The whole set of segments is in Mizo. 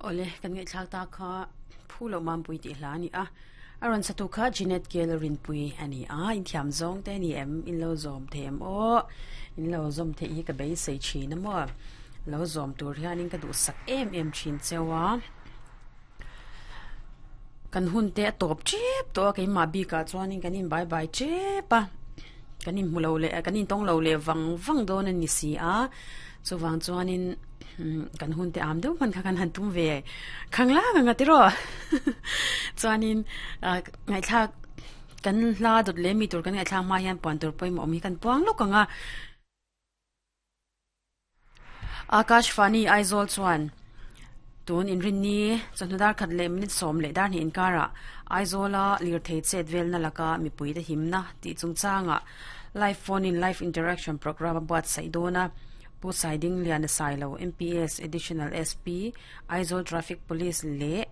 Awle, kan ngaihthlak ta kha Phu Loh Mampui tih hla a ni a. A rawn satu kha Jeanette Gale Rinpui a ni a, inthiam zawng te a ni em? In lo zawm thei em aw? In lo zawm theih hi ka beisei thin a maw? Lo zawm tur hianin ka duhsak em em thin cheu a. Kan hun te a tawp tep tawh a keimah bikah chuanin kan inbai bai tep a kan inhmu lo leh kan intawng lo leh vang vang dawn a ni si a chuvang chuanin kan hun te am deuh hman kha kan han tum ve khang lang ang a tiraw chuanin ngaihthlak kan hla dawt leh mi tur kan ngaihthlak hma hian puan tur pawimawh awm hi kan puang lawk ang a. Akashvani Aizawl chuan tun inrinni chawhnu dar khat leh minute 10 leh dar hnih inkarah Aizawla lirthei chet velna laka mipuite himna tih chungchangah Live Phone in Live Interaction Programme a buatsaih dawn a. Pu Saidingliana Sailo, MPS Additional SP, Aizawl Traffic Police leh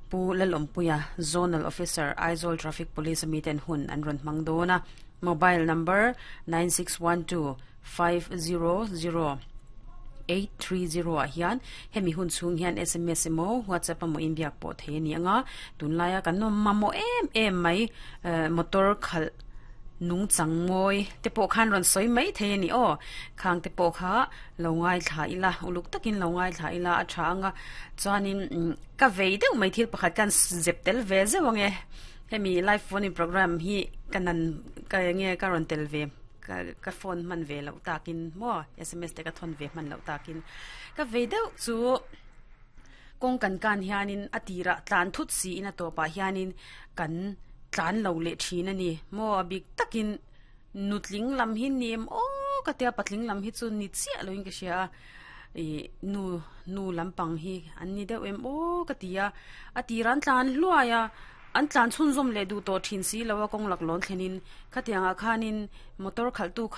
Pu Lalawmpuia, Zonal Officer, Aizawl Traffic Police a miten hun an rawn hmang dawn a. Mobile number 9612. 500830 ah hian hemi hun chhung hian sms emaw whatsapp emaw inbiak pawh thei a ni ang a tunlaia kan awm mamawh em em mai eh motor khalh nungchang mawi te pawh khan rawn sawi mai thei a ni aw khang te pawh kha lo ngaithla ila uluk takin lo ngaithla ila a tha ang a chuanin ka vei deuh mai thil pakhat khan zep tel ve zeuh ang e hemi live phone in program hi ka nan ka enge ka rawn tel ve. Ka ka phone hman ve loh takin maw sms te ka thawn ve hman loh takin ka vei deuh chu kawng kan kan hianin a tirah tlan thut siin a tawpah hianin kan tlan lo leh thin a ni maw a bik takin nutling lam hi ni em aw ka tia patling lam hi chu ni chiah loin ka hria a ih nu nu lampang hi an ni deuh em aw ka ti a a tirah an tlan hluai a. An tlan chhunzawm leh duh tawh thin si lo a kawng lak lawn thlenin khatiangah khanin motor khalhtu kha.